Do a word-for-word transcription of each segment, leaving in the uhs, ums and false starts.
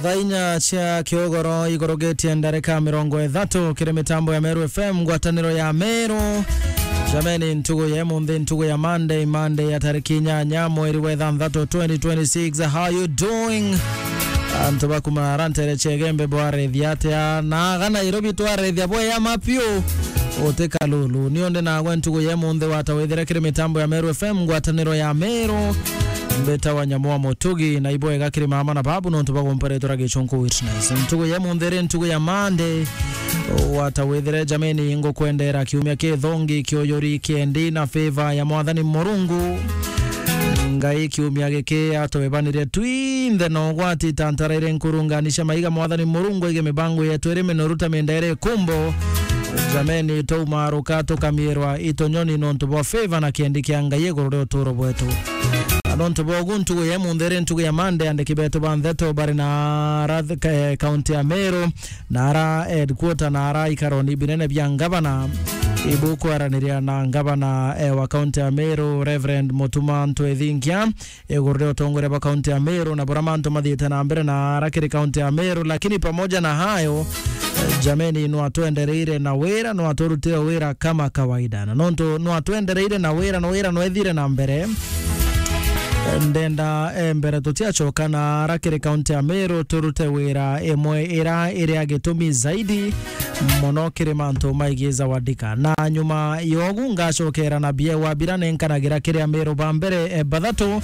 Thaa inya cia kiogoro igurukitie ndarika mirongo ithatu kiri mitambo ya Meru F M, ngwataniro ya Meru. Jameni, ntugu ya munthi, ntugu ya Monday, Monday ya tariki inyanya mweri wa ithanthatu twenty twenty-six. How you doing? Antu bakuma arantere Chegembe bwarethia atia? Na aga Nairobi twarethia bweyama piu. Uti kalulu. Nio ndi nagwe ntugu ya munthi, wata withire kiri mitambo ya Meru F M, ngwataniro ya Meru. Mbita wa Nyamu wa Mutugi, na ibwega kiri mama na babu nontu bagumpa ritwa ria Gichunku Witness. Ntugu ya munthi ri ntugu ya Monday. Wata withire jameni, ngukwendera kiumia kithongi, kiuyuri, kiendi na favor ya Mwathani Murungu. Ngai kiumia giki atwebanirie twinthe na ugwati, tantara iri nkurungani cia maiga, Mwathani Murungu aige mibango yetu iri minoru ta minda iri kumbo. Jameni, twaumaruka tukamirwa itunyoni nontu bwa favor na kiendi kia Ngai iguru ria uturo bwetu. Na nontu bwa ugu, ntugu ya munthi ri ntugu ya Monday, andiki betu ba ntheto bari na ara th-, ka-, eh, kaunti ya Meru, na ara headquarter, na ara ikaroni binene bia ngavana, ibukwiraniria na ngavana, eh, wa kaunti ya Meru, Reverend Mutuma Ntwethinkia, iguru ria utongoria bwa kaunti ya Meru na buria mantu mathiite na mbere na ara kiri kaunti ya Meru. Lakini pamoja na hayo, eh, jameni, nwatwendereire na wira, nwaturutire wira kama kawaida. Na nontu nwatwendereire na wira, na wira nwethire na mbere, ndenda, eh, mbere tutiacoka na ara kiri kaunti ya Meru, turute wira imwe ira iri ya gitumi zaidi mono kiri mantu maigie Zawadika. Na nyuma yogu ngacokera na biewa bira nenkanagira kiri Ameru ba mbere, eh, bathatu.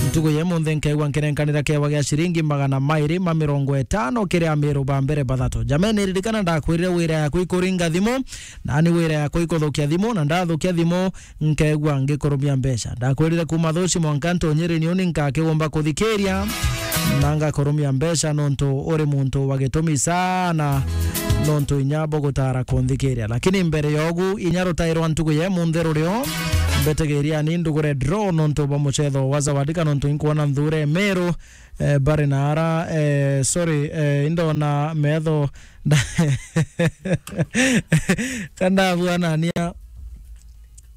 Ntugu ya munthi nkaigua nkinenkanira kiewa gia ciringi magana mairi ma mirongo itano kiri Ameru ba mbere bathatu. Jameni, ririkana ndakwirire wira yaku ikuringa thimu, nani wira yaku ikuthukia thimu, na ndathukia thimu, nkeegua ngikurumia mbeca. Ndakwirire kuuma thuci mwanka ntunyiri niuni nkakigumba kuthikiria, na ngakurumia mbeca nontu uri muntu wa gitumi sana, nontu inya bugutara kunthikiria. Lakini mbere yogu, inya rutai rwa ntugu ya munthi rurio, mbitigiria ni ndugure draw nontu bwa mucetho wa Zawadika, nontu inkwona nthure Meru, eh, bari na ara, eh, sorry, eh, indona metho nda-, kandabuanania,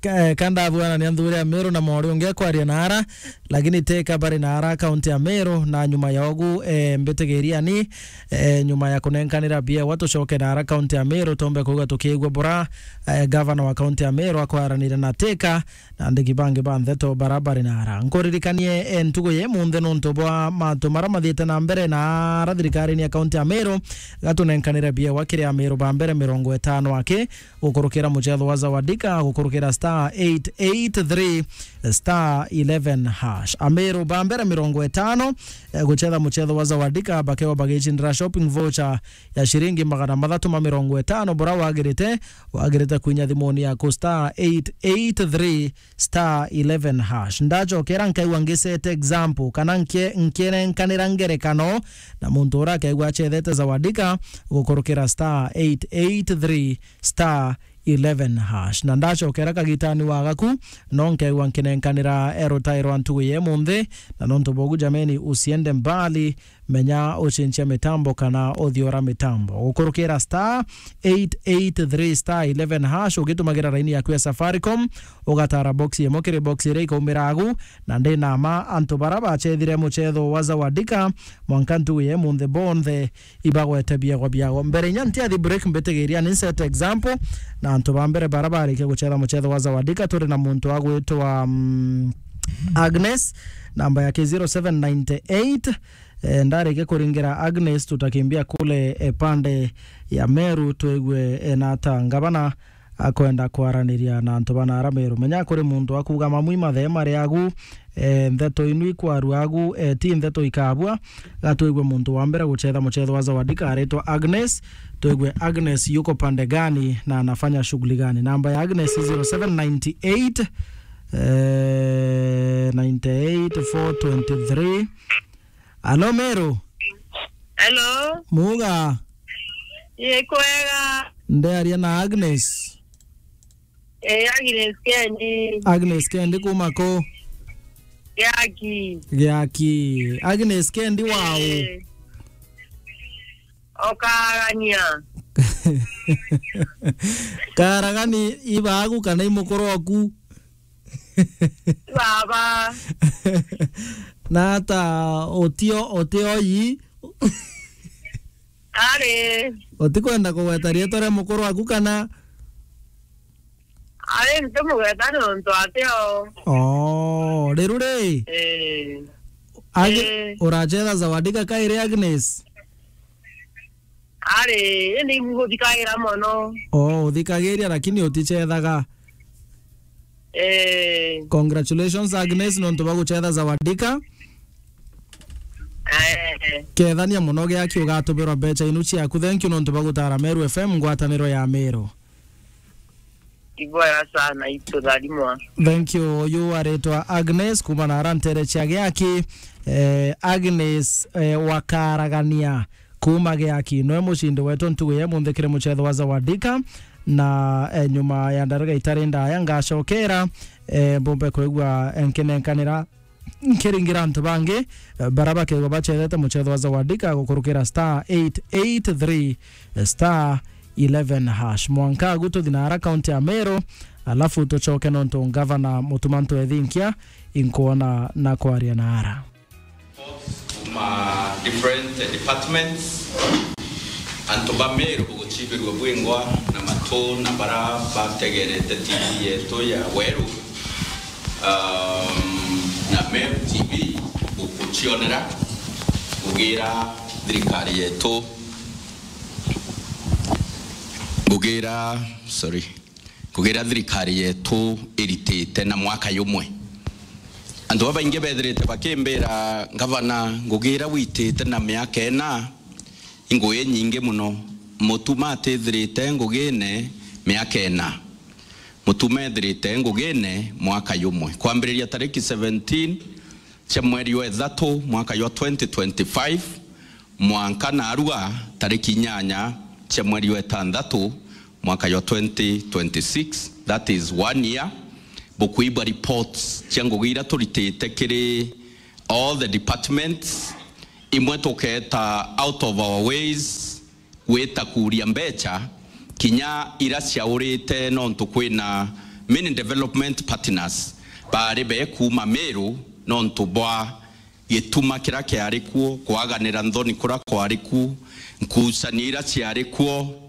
ka-, eh, kandabuanania nthuri ya Meru na mori ungi akwaria na ara, lakini teka bari na ara kaunti ya Meru, na nyuma ya ugu, eh, mbitigiria ni, eh, nyuma ya kunenkanira biewa tucoke na ara kaunti ya Meru, tombe kuuga tukiigua bura, eh, gavana wa kaunti ya Meru akwaranire na teka, na andiki bangi ba ntheto bara bari na ara. Nkuririkanie, eh, ntugu ya imunthi nontu bwa mantu mara mathiite na mbere na ara thirikarine ya kaunti ya Meru, gatunenkanire biewa kiri Ameru ba mbere mirongo itano aki, gukurukira mucetho wa Zawadika, gukurukira star eight eight three star eleven hash. Ameru ba mbere mirongo itano, eh, gucetha mucetho wa Zawadika, bakewa bagicindira shopping voucher ya ciringi magana mathatu ma mirongo itano, bura wagirite, wagirite kwinya thimuni yaku star eight eight three star eleven hash. Ndacokera nkaigua ngiset example, kana nkie-, nkienenkanira ngerekano na muntu uria akaigua acethete Zawadika gukurukira star eight eight three star eleven hash. Na ndacokera kagitani wa gaku, no nkaigua nkinenkanira erotae rwa ntugu ya imunthi, na nontu bogu jameni, usiende mbali, menya ucenjia mitambo kana uthiora mitambo. Gukurukira star eight eight three star eleven hash ugitumagira raini yaku ya Safaricom, ugatara box imwe kiri box iria ikaumira agu, na ndina ma antu bara bacethire mucetho wa Zawadika mwanka ntugu ya imunthi bonthe ibagwete biegwa biago. Mbere inya ntiathi break, mbitigiria ni set example na antu ba mbere bara barikia gucetha mucetho wa Zawadika. Turi na muntu agwitwa, mm, Agnes, namba yake zero seven nine eight. Eh, ndareke kuringira Agnes, tutakimbia kule, eh, pande ya Meru, twigue, eh, na ata ngavana akwenda kwaraniria na antu bana ara Meru. Menya kuri muntu akuga mamwi mathe mari agu, eh, ntheto inu ikwarua agu, eh, ti ntheto ikabua. Gatwigue muntu wa mbere gucetha mucetho wa Zawadika aritwa Agnes. Twigue Agnes yuko pande gani na anafanya shughuli gani. Namba ya Agnes zero seven nine eight, eh, nine eight four twenty three. Alo, Meru. Hello. Muga. Ye kwega. Ndearia na Agnes. Eh, Agnes Kendi. Agnes Kendi kuma ku? Giaki. Giaki. Agnes Kendi wau? Eh. Okagania. Karagani ibagu kana imukuru oku? Baba. Na ata utio, utio yi? Ari. Utikwenda kugweta riitwa ria mukuru waku kana? Ari, ntimugweta nontu atio. Oh, riru ri? Eh. Agi-, Eh. Uracetha Zawadika kairi Agnes? Ari, indi nguthikagira mono. Oh, uthikagiria lakini uticethaga. Eh. Congratulations Agnes nontu bwa gucetha Zawadika. Eh. Kethania mono giaki ugatubirwa mbecha inu ciaku. Thank you nontu bwa gutara Meru F M ngwataniro ya Meru. Ibwega sana, itutharimwa. Thank you. Uyu aritwa Agnes kuma na ara ntere cia giaki. Eh, Agnes, eh, wakaragania kuma giaki. Noe mucindi wetu ntugu ya munthi kiri mucetho wa Zawadika. Na, eh, nyuma ya ndariga itari ndaya ngacokera, eh, mbumbe kwigua, eh, nkinenkanira nkiringira antu bangi, eh, bara bakethirwa bacethete mucetho wa Zawadika gukurukira star eight eight three, eh, star eleven hash. Mwanka agu tuthi na ara kaunti ya Meru, alafu tucoke nontu ngavana Mutuma M'Ethingia inkwona na kwaria na ara. Kuma different departments, antu ba Meru bugucibirua bwingwa na matu na bara bategerete T V yetu ya Weru. Um, na Meru T V gukucionera, ngugira thirikari yetu, ngugira, sorry, ngugira thirikari yetu iritite na mwaka yumwe. Antu babaingi bethirite bakimbira, "Ngavana, ngugira witite na miaka ina, ingugi nyingi muno." Mutuma atithirite ngugine miaka ina. Mutuma ethirite ngugine mwaka yumwe. Kwambiriria tariki seventeen cia mweri wa ithatu mwaka jwa twenty twenty-five, mwanka narua tariki inyanya cia mweri wa itantatu mwaka jwa twenty twenty-six, that is one year, bukwigua reports cia ngugi iria turitite kiri all the departments, imwe tuketa out of our ways, gwita kuria mbecha, kinya ira ciaurite nontu kwina main development partners bari be kuuma Meru nontu bwa gituma kira kiari kuo, kwaganira nthoni kura kwari ku, nkucanio ira ciari kuo.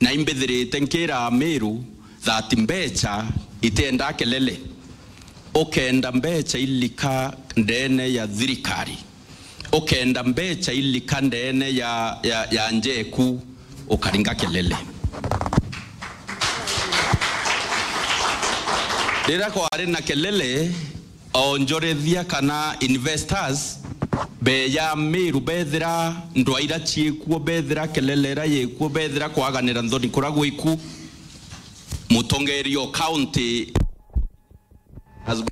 Na imbithirite nkira Meru that mbecha itienda kelele. Ukenda mbecha ilika ndene ya thirikari, ukenda mbecha ilika ndene ya, ya, ya njeku, ukaringa kelele. Riria kwari na kelele, onjorithia kana investors beya Meru bethira ndwa ira ciikuo, bethira kelele ira yikuo, bethira kwaganira nthoni kura gwiku, mutongeria o county has